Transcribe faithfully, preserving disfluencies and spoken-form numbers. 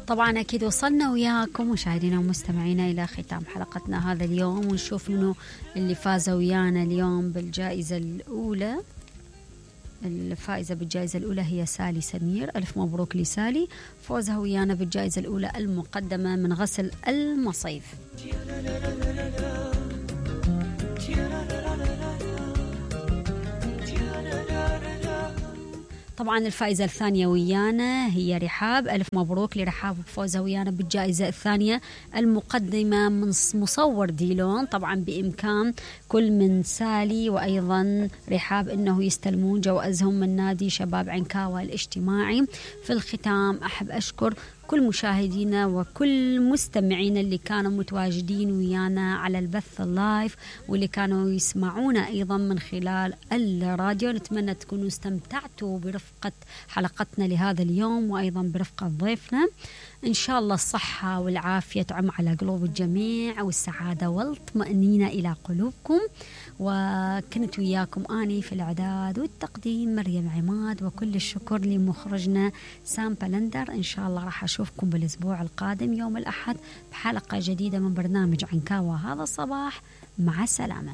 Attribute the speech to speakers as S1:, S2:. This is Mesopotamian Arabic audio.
S1: طبعا أكيد وصلنا وياكم مشاهدينا ومستمعينا إلى ختام حلقتنا هذا اليوم، ونشوف منو اللي فاز ويانا اليوم بالجائزة الأولى. الفائزة بالجائزة الأولى هي سالي سمير، ألف مبروك لسالي، فوزها ويانا بالجائزة الأولى المقدمة من غسل المصيف. طبعا الفائزة الثانية ويانا هي رحاب، ألف مبروك لرحاب بفوزها ويانا بالجائزة الثانية المقدمة من مصور ديلون. طبعا بإمكان كل من سالي وأيضا رحاب أنه يستلمون جوائزهم من نادي شباب عنكاوة الاجتماعي. في الختام أحب أشكر كل مشاهدينا وكل مستمعينا اللي كانوا متواجدين ويانا على البث اللايف واللي كانوا يسمعونا أيضا من خلال الراديو. نتمنى تكونوا استمتعتوا برفقة حلقتنا لهذا اليوم وأيضا برفقة ضيفنا. إن شاء الله الصحة والعافية تعم على قلوب الجميع والسعادة والطمأنينة إلى قلوبكم. وكنت وياكم أني في الإعداد والتقديم مريم عماد، وكل الشكر لمخرجنا سام بلندر. إن شاء الله راح أشوفكم بالأسبوع القادم يوم الأحد بحلقة جديدة من برنامج عنكاوة هذا الصباح. مع السلامة.